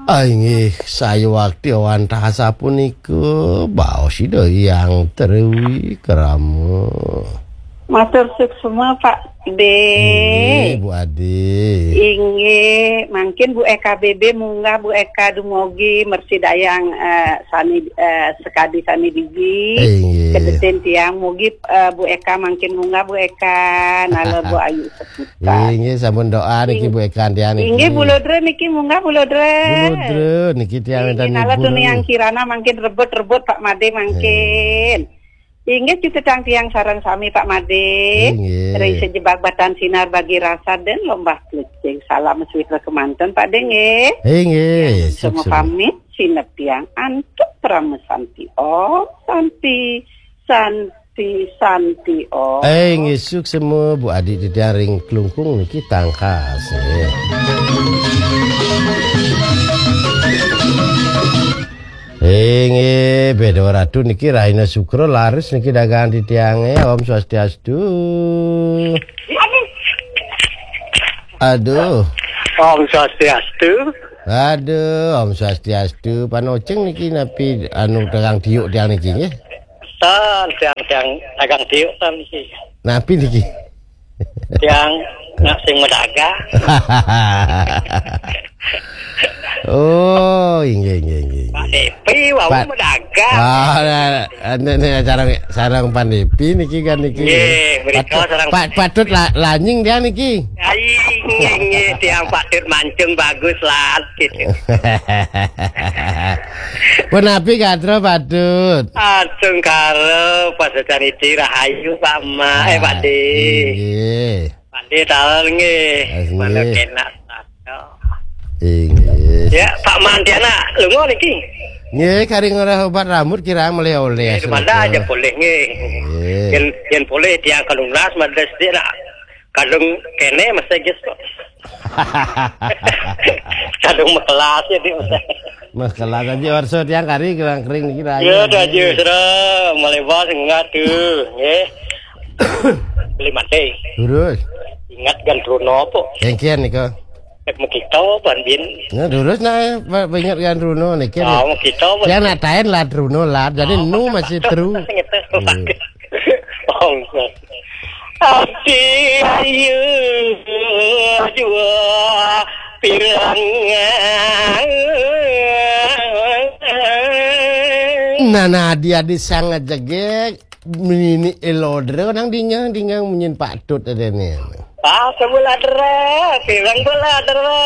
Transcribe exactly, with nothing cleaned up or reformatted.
Ah, inggih, sayuwakti wantah sapunika, baos Ida Hyang Triwikrama. Matur suksma, Pak De. Inggih, Bu Ade. Inggih, mangkin Bu Eka B B munggah, Bu Eka dumugi mresidayang, eh, sami, eh, sekadi sami digi. Inggih. Kedetin tiang mugi, eh, Bu Eka mangkin munggah, Bu Eka, nala Bu Ayu Seputar. Inggih, sampun doa niki, Bu Eka, tiang niki. Inggih, Bu Lodra niki munggah, Bu Lodra. Bu Lodra niki tiang wénten. Inggih, nala ibu tuni nu. Yang Kirana mangkin rebut-rebut Pak Made mangkin. Inggih, cutetang tiang sareng sami, Pak Made. Inggih. Ring sejebag batan sinar bagi rasa dan lombah klecing. Salam suwitra kemanten, Pak De, nggih. Inggih, tiang semua sukses. Pamit, sinep tiang antuk parama santi. Om Santi, Santi, Santi, Om. Eh, inggih, suksma, Bu Adi, titiang ring Klungkung niki tangkas, nggih. Inggih, Beda Ratu niki rahina Sukra laris niki dagangan titiange. Om Swastiastu. Aduh. Om Swastiastu. Aduh, Om Swastiastu. Panoceng niki napi anu dagang tiuk tiang niki nggih? Tan, tiang, tiang dagang tiuk tan niki. Napi niki? Tiang nak sing medagang. Oh, inggih, inggih, inggih, Pak inggih. Depi wau Pak medagang. Ah, nah, anu nih, sareng, sareng Pan Depi niki kan niki. Nggih, mrika Patut, sareng pat-, patut la-, lanying tiang niki. Ai, nggih, nggih, tiang patut mancung bagus lah, gitu. Punapi gatra patut? Asung karo pasecan iti rahayu, Pak Ma, eh, Pak De. Ah, inggih. Pak De taler nggih. Ah, nggih. Mana kena satu. Inggih. Ya, Pak Mantiana, lunga niki. Nggih, kari ngorah obat rambut kirang melih oleh. Nggih, mada aja polih nggih. Nggih. Yen, yen polih tiang kalunglas mada sithik nak kadung kene mesti gis kok. Kadung mekelas ya, Dik, mesti. Mekelas aja warsa tiang kari kirang kering niki rayu. Ya, dah aja, sira melebas enggak tuh, nggih. Beli mati. Terus? Ingat kan Bruno apa? Kengkian nika. Nek mekita ban bin. Nah, terus nah, ba-, ingat kan Bruno niki. Ah, mekita apa? Yang nak taen lah Bruno lah. Jadi nu masih teru. Ngetes. Hmm. Ongkos. Ati ayu jua pirang. Nah, nah, dia di sangat jegek. Mini elodre nang dingang, dingang munyin patut ada ni. Ah, sebelah dera, pirang belah dera.